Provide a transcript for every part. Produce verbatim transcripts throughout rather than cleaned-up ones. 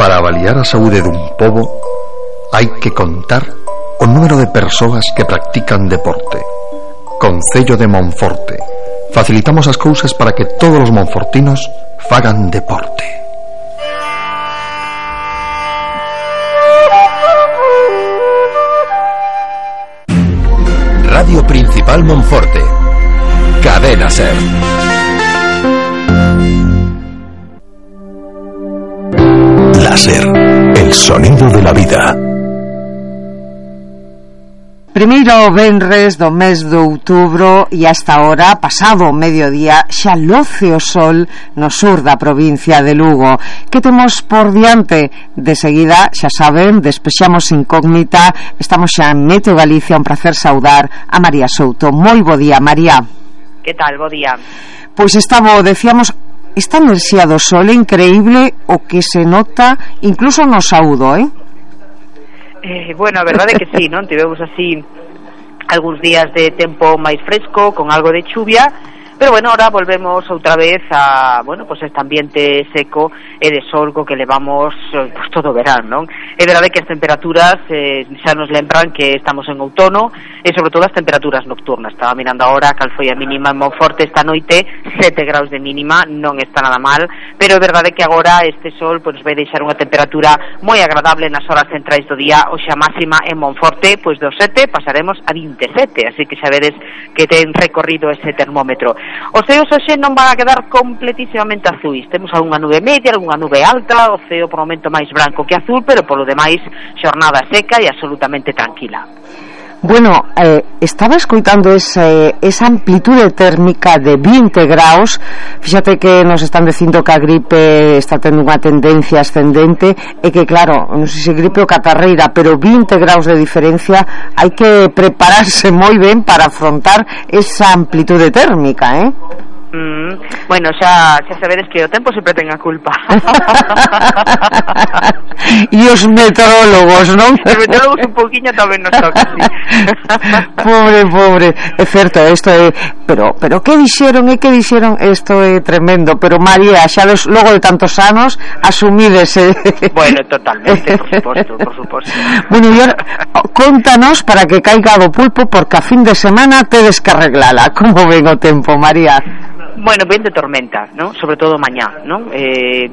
Para avaliar a saúde dun pobo hai que contar o número de persoas que practican deporte. Concello de Monforte. Facilitamos as cousas para que todos os monfortinos fagan deporte. Radio Principal Monforte. Cadena Ser. Láser, el sonido de la vida. Primeiro venres do mes de outubro e hasta ahora, pasado o mediodía, xa loce o sol no sur da provincia de Lugo. Que temos por diante? De seguida, xa saben, despexamos incógnita. Estamos xa en Meteo Galicia, un placer saudar a María Souto. Moi bo día, María. Que tal, bo día? Pois estaba, decíamos, esta enerxía do sol é increíble o que se nota incluso no saúdo, eh? Eh, bueno, a verdade é que sí, non? Tivemos así algúns días de tempo máis fresco, con algo de chuvia, pero bueno, ahora volvemos outra vez a, bueno, pues este ambiente seco e de sol co que levamos pues, todo o verán, non? É verdade que as temperaturas eh, xa nos lembran que estamos en outono e sobre todo as temperaturas nocturnas. Estaba mirando agora cal foi a mínima en Monforte esta noite, sete graus de mínima, non está nada mal, pero é verdade que agora este sol pues, vai deixar unha temperatura moi agradable nas horas centrais do día. Hoxe a máxima en Monforte, pois dos sete pasaremos a vinte e sete, así que xa vedes que ten recorrido ese termómetro. Os ceos hoxe non van a quedar completísimamente azuis. Temos algunha nube media, algunha nube alta, o ceo por momento máis branco que azul, pero polo demais xornada seca e absolutamente tranquila. Bueno, eh, estaba escoitando ese, esa amplitude térmica de vinte graus. Fíxate que nos están dicindo que a gripe está tendo unha tendencia ascendente e que claro, non sei se gripe ou catarreira, pero vinte graus de diferencia, hai que prepararse moi ben para afrontar esa amplitude térmica, eh? Mm, bueno, xa, xa sabedes que o tempo sempre ten a culpa. E os meteorólogos, non? Os meteorólogos un pouquiño tamén nos toca, sí. Pobre, pobre. É certo, isto é... Pero, pero que dixeron, e que dixeron? Isto é tremendo. Pero María, xa des, logo de tantos anos, asumídese. Bueno, totalmente, por suposto, por suposto. Bueno, e ahora, contanos para que caiga do pulpo, porque a fin de semana tedes que arreglala. Como ven o tempo, María? Bueno, ben de tormenta, ¿no? Sobre todo mañá, ¿no? Eh,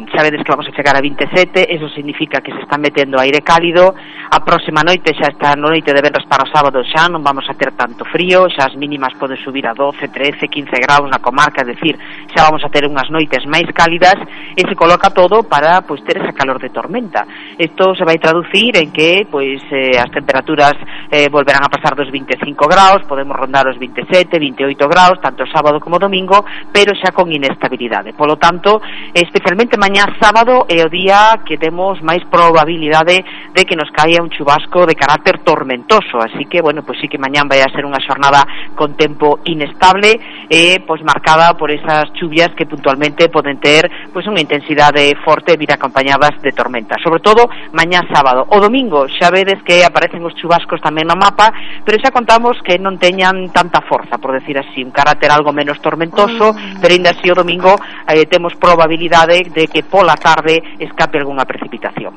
sabedes que vamos a chegar a vinte e sete, eso significa que se está metendo aire cálido. A próxima noite, xa esta noite de venres para o sábado, xa non vamos a ter tanto frío, xa as mínimas poden subir a doce, trece, quince graus na comarca, é dicir, xa vamos a ter unhas noites máis cálidas e se coloca todo para, pois, ter esa calor de tormenta. Isto se vai traducir en que, pois, eh, as temperaturas eh, volverán a pasar dos vinte e cinco graus, podemos rondar os vinte e sete, vinte e oito graus, tanto sábado como domingo, pero xa con inestabilidade. Polo tanto, especialmente mañá sábado é o día que temos máis probabilidade de que nos caia un chubasco de carácter tormentoso, así que, bueno, pois sí que mañán vai a ser unha xornada con tempo inestable e, pois, marcada por esas chuvias que puntualmente poden ter, pois, unha intensidade forte e vir acompañadas de tormenta, sobre todo mañá sábado. O domingo xa vedes que aparecen os chubascos tamén no mapa, pero xa contamos que non teñan tanta forza, por decir así, un carácter algo menos tormentoso, pero ainda así o domingo eh, temos probabilidade de que pola tarde escape algunha precipitación.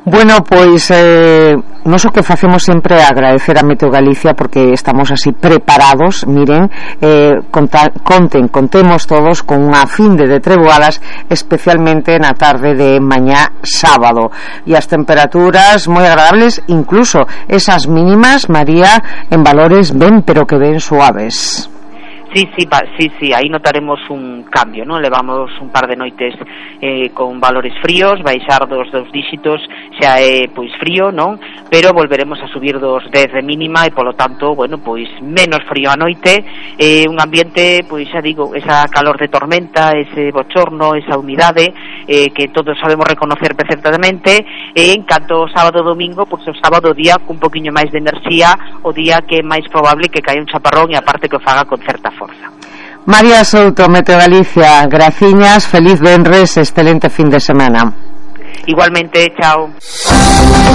Bueno, pois eh, nos o que facemos sempre é agradecer a Meteo Galicia porque estamos así preparados. Miren, eh, conta, conten, contemos todos con unha finde de treboadas, especialmente na tarde de mañá sábado, e as temperaturas moi agradables, incluso esas mínimas, María, en valores ben pero que ben suaves. Sí, sí, sí, sí, aí notaremos un cambio, ¿no? Levamos un par de noites eh, con valores fríos, baixar dos dos díxitos xa é, pois, frío, non? Pero volveremos a subir dos dez de mínima e, polo tanto, bueno, pois, menos frío a noite, eh, un ambiente, pois, xa digo, esa calor de tormenta, ese bochorno, esa humidade, eh, que todos sabemos reconocer perfectamente, e en canto sábado e domingo, pois, o sábado día cun poquinho máis de enerxía, o día que é máis probable que caia un chaparrón e aparte que o faga con certa forza. María Souto, Meteo Galicia, graciñas, feliz venres, excelente fin de semana. Igualmente, chao.